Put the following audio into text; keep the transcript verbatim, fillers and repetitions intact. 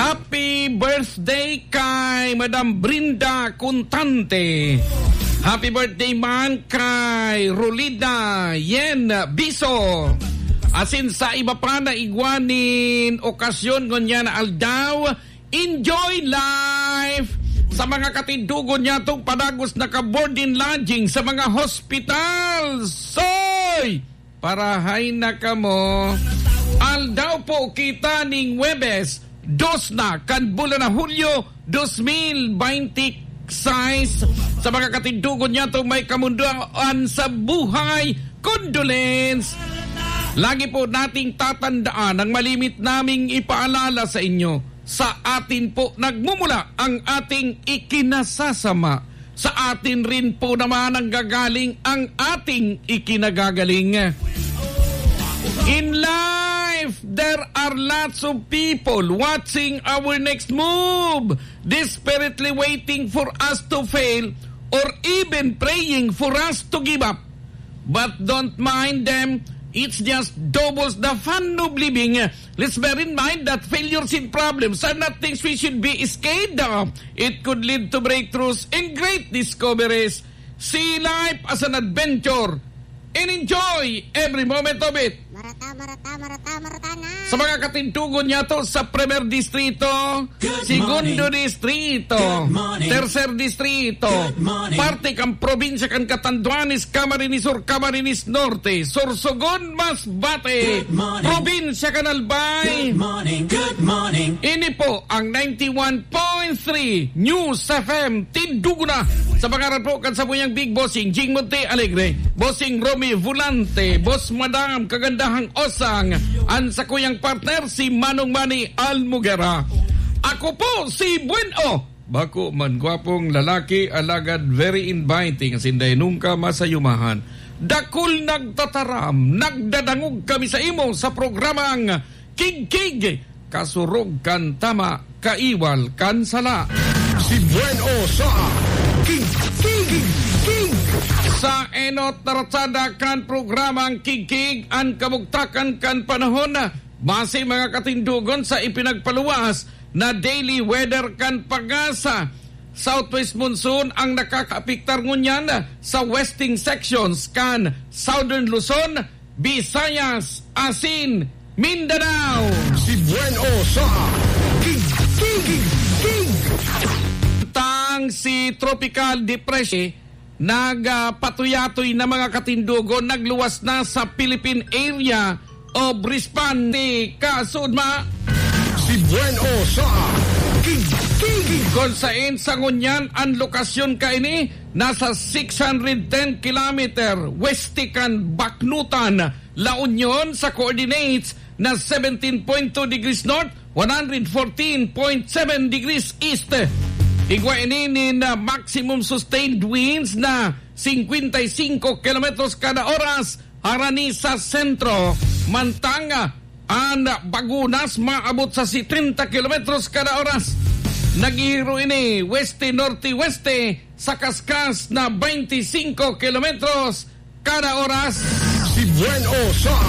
Happy birthday kay Madam Brinda Contante. Happy birthday man kay Rolida Yen Biso. Asin sa iba pa na igwa nin okasyon ngunyan na aldaw, enjoy life! Sa mga katindogon niyatong padagos na ka-board and lodging sa mga hospital. Soy! Parahay na kamo. Aldaw po kita ning Huwebes, dos na kan bulan na Hulyo, dos mil baynte sais. Sa mga katindogon niyato may kamundoan sa buhay, condolence. Lagi po nating tatandaan ang malimit naming ipaalala sa inyo. Sa atin po nagmumula ang ating ikinasasama. Sa atin rin po naman nanggagaling ang ating ikinagagaling. In life, there are lots of people watching our next move, desperately waiting for us to fail or even praying for us to give up. But don't mind them, it's just doubles the fun of living. Let's bear in mind that failures and problems are not things we should be scared of. It could lead to breakthroughs and great discoveries. See life as an adventure and enjoy every moment of it. Marata, marata, marata, marata na. Sa mga katindogon niyato sa Primer Distrito, Good Segundo morning. Distrito, Good morning. Tercer Distrito, Good morning. Parte kan probinsya kan Catanduanes, Camarines Sur, Camarines Norte, Sorsogon, Masbate, Good morning. Probinsya kan Albay. Good morning, good morning. Ini po ang ninety-one point three News F M Tindugo na. Sa pangaran po kan samuyang Big Bossing Jing Monte Alegre, Bossing Romy Volante, Boss Madam Kagandahang Osang, an sakuyang partner si Manong Manny Almugera. Ako po si Buen O. Bako man gwapong lalaki, alagad very inviting, asin dai nungka masayumahan. Dakul nagtataram, nagdadangog kami sa imo sa programang Kigkig, kasurog kan tama, kaiwal kan sala. Si Buen O sa Kigkig. Sa enot na ratsada kan programang Kigkig, an kabugtakan kan panahon, base mga katindogon sa ipinagpaluwas na daily weather kan PAGASA. Southwest monsoon ang nakakaapektar ngunyan sa western sections kan Southern Luzon, Visayas asin Mindanao. Si Buen O sa Kigkig. Tang si Tropical Depression nagpatuyatoy na mga katindogon, nagluwas na sa Philippine Area of Response. Kasunod ma, Si Buen O sa Kigkig. Kung sain sa ngunyan an lokasyon kaini, nasa six hundred ten kilometer west kan Baknotan, La Union, sa coordinates na seventeen point two degrees north, one hundred fourteen point seven degrees east. Igwa ini nin, ah, maximum sustained winds na singkwenta y singko kilometros kada oras harani sa sentro, mantang, ah, an bagunas maabot sa setenta kilometros kada oras. Naghihiro ini weste-norte-weste sa kaskas na baynte singko kilometros kada oras. Si Buen O sa